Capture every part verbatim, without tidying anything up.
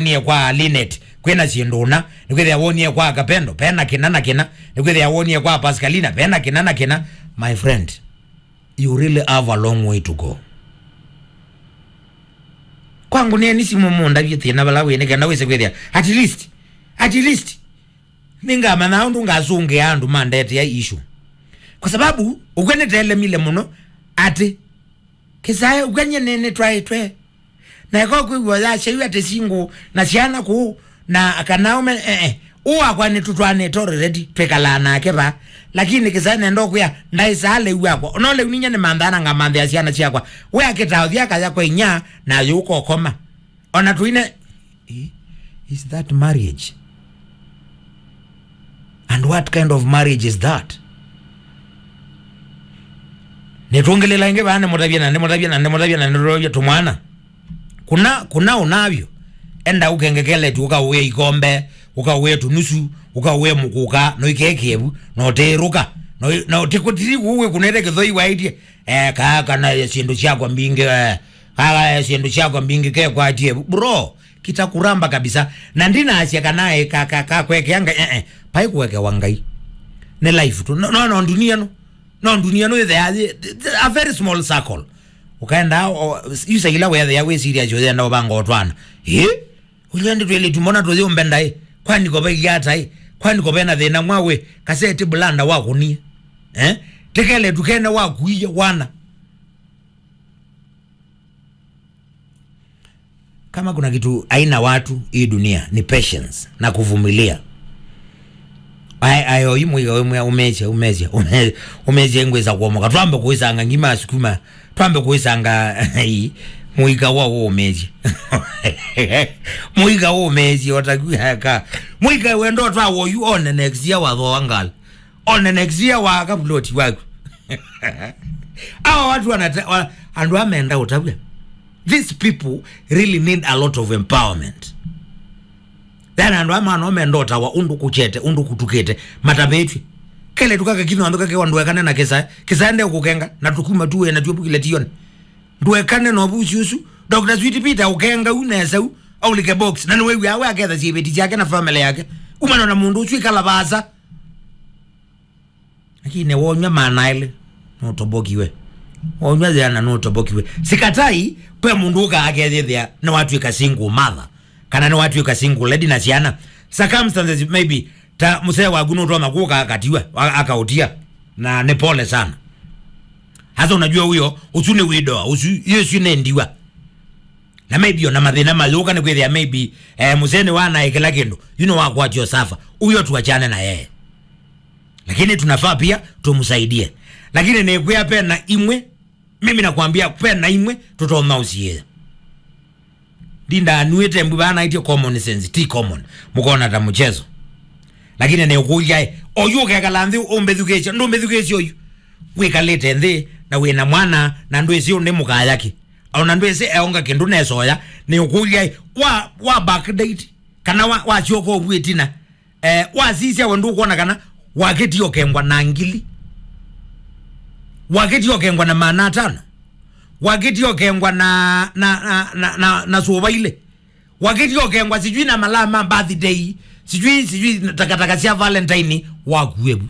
wonie kwa Linet, kwĩna syĩndũ ũna, nĩkwĩthĩa wonie kwa Kapendo, pena kĩna na kĩna, nĩkwĩthĩa wonie kwa Pascalina, pena kĩna na kĩna. My friend, you really have a long way to go. Kwangu nĩeni simũ mũndavye thĩna vala wĩ, nĩ kenda wĩse kwĩthĩa, at least, at least, nĩngamanya ũndũ ngasũngĩa andũ mandetea issue. Kwa sababu, ũkw'a nĩtelemile mũno, atĩ, kĩsae, ũkw'a nyie nĩ, nĩtwaĩtwe. Na ĩko kwĩw'a yasyaiwe atĩ single na syana kũu, na kana ũme, eh, eh. Ũũ wakwa nĩtũtwaanĩte already, twĩkalaa nake va. Lakini kĩsae nenda ũkwĩa, ndaĩsaa lĩu wakwa. Ona lĩu ninya nĩmanthaa na ngamanthĩa syana syakwa. We akĩtaa ũthi akaya kwa inya, na yũka ũkoma. Ona tũine, eh, is that marriage? And what kind of marriage is that? Nĩtwongeleela ĩngĩ vaa, nĩmũtavye na nĩmũtavye na nĩmũtavye na nĩtũtavye tũmwana. Kuna, kuna ũnavyo. Enda ũkengekele tu, ũkaũĩe ikombe, ũkaũĩe tũnusu, ũkaũĩe mũkũka, no ikekĩevu, no tĩĩrũka, no, no tĩkũtiri kũu wĩkunĩte kĩthoi waĩtye. Eh, kaa kana syĩndũ syakwa mbingĩ, eh, kaa syĩndũ syakwa mbingĩ kekwatie. Bro, kita kuramba kabisa. Na ndinasya kana, eh, ka, ka, ka kwekeanga, eh, eh, pai kuwekewa Ngai. Nĩ life tu. No, no, no, dunia no. No, dunia no, it's a, a very small circle. Ukaenda, o, yusa ila wethea we serious, ukaenda ubanga otwana. Eh? Ũlya ndĩ twĩlĩtu mbona tũyũmbenda ĩ? Kwani ko vailye ata ĩ? Kwani ko vena thĩna mwaũ ĩ? Kaseti bulanda wakunie. Eh? Tikele tukene wakuie wana. Kama kuna kitu haina watu hii dunia ni patience na kuvumilia. Ai, ai, oyu mũika ũmwe umesya, umesya, ume-, umesya ngwĩsa kuomoka. Twambe kũisanga ngima sukuma. Twambe kũisanga ii, mũika wa ũmĩĩsye. Mũika ũmĩĩsye, otakwĩaka. Mũika wendo twa woyu, one next year wathoa ngal. One next year waka plot waku. Awa watu wanata-, wa-, andũ amenda ũtavya. These people really need a lot of empowerment. Then andũ aya mano menda ũtawa ũndũ kũkyete, ũndũ kũtukĩte, matavĩtw'e. Kele tũkaka kino andũ kake ndũekane na kĩsae, kĩsae nde kũkenga, na tũkuma tuwe na tuepukile tione. Ndũekane na ũvusi ũsu. Doctor Sweet Peter ũkenga u nesa u, aulike box, na nĩwĩw'aa we aketha syĩvĩti syake na family yake. Umana na mũndũ ũsu ikala vaasa. Lakini wonywa maana elĩ, nũtobokiwe. Wonywa yĩana, nũtobokiwe. Sikatai, kwe mũndũ ũka akethĩthĩa nĩwatw'ĩka single mother, kana nĩwatw'ĩka single lady na syana. Circumstances maybe, ta mũsee waku nũtonya kũka akatiwa, a-, akaũtia. Na nĩ pole sana. Hasa unajua huyo, ũsu nĩ widoa, ũsu, hiyo ĩsu nĩ ndiwa. Na maybe ona mathĩna mayũka nĩ kwĩthĩa maybe, eh, mũsee nĩ wanae kĩla kĩndũ. You know, wakwatio suffer. Huyo tuachane na yeye. Lakini tunafaa pia tumsaidie. Lakini nĩkwĩa pena imwe, mimi nakwambia pena imwe tũtonya ũsiĩĩa. Ndinda anuĩte mbu vaa naĩtye common sense, ti common. Mũkona ta mchezo. Lakini nĩũkũlya, eh, oyu ũkekala nthĩ ũmbĩthukĩĩsya, ndũmbĩthukĩĩsya oyu. Wĩkalĩte nthĩ na wĩna mwana na ndwĩsĩ ũndĩ mũkayaki. Ona ndwĩsĩ eonga kĩndũ nesoya, nĩũkũlya, eh, wa, wa backdate, kana wa, wasyoka ũvu ĩtina. Eh, wasisya we ndũkwona kana wakĩtie ũkengwa na ngili? Wakĩtie ũkengwa na maana atano? Wakĩtie ũkengwa na, na, na, na, na, na sũva ilĩ? Wakĩtie ũkengwa sijui na malaa ma birthday, sijui, sijui takataka sya Valentine, wakuevu?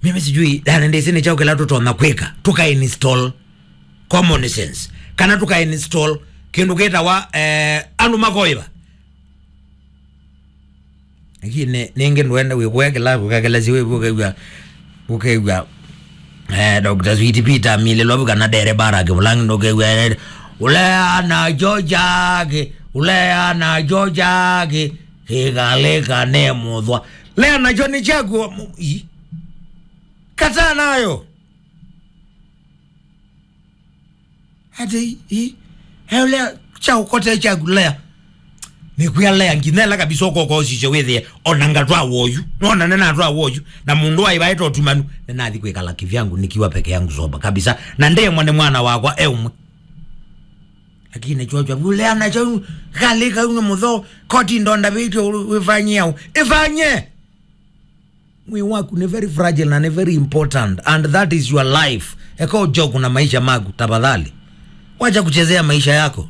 Mimi sijui, yani, ndĩsĩ nĩ kyaũ kĩla tũtonya kwĩka, tũka install common sense, kana tũka install kĩndũ kĩtawa, eh, andũ makoĩva. Lakini nĩngĩ ndwenda wĩkũya kĩla, ũkakelesya wĩvu, ũkew'a, ũkew'a, eh, Doctor Sweet Peter amilĩlwa vu kana dereba ara kĩvũlangi, ndũkew'a, eh, ũlea na chochake, ũlea na chochake, kĩkalĩka ne mũthwa. Lea nacho nĩ kyaku, mu-, i. Kataa nayo. Ati, i, i, eulea, kyaũkote kyaku lea. Nĩkwĩa lea, nginya ĩla kabisa ũkoka ũsisye wĩthĩe, ona ngatwa woyu. Nona nĩnatwa woyu. Na mũndũ waivaĩte ũtumanu, nĩnathi kwĩkala kĩvyangu nikiwa peke yangu soba kabisa. Na ndemwa nĩ mwana wakwa e ũmwe. Lakini chochwa, ulea nacho, kalĩka uno mũtho, koti ndonda vĩtyo wĩfanyie au. Ĩfanye! Mwĩĩ waku nĩ very fragile na nĩ very important, and that is your life. Eka ũjoku na maisha maku, tafadhali. Wacha kuchezea maisha yako.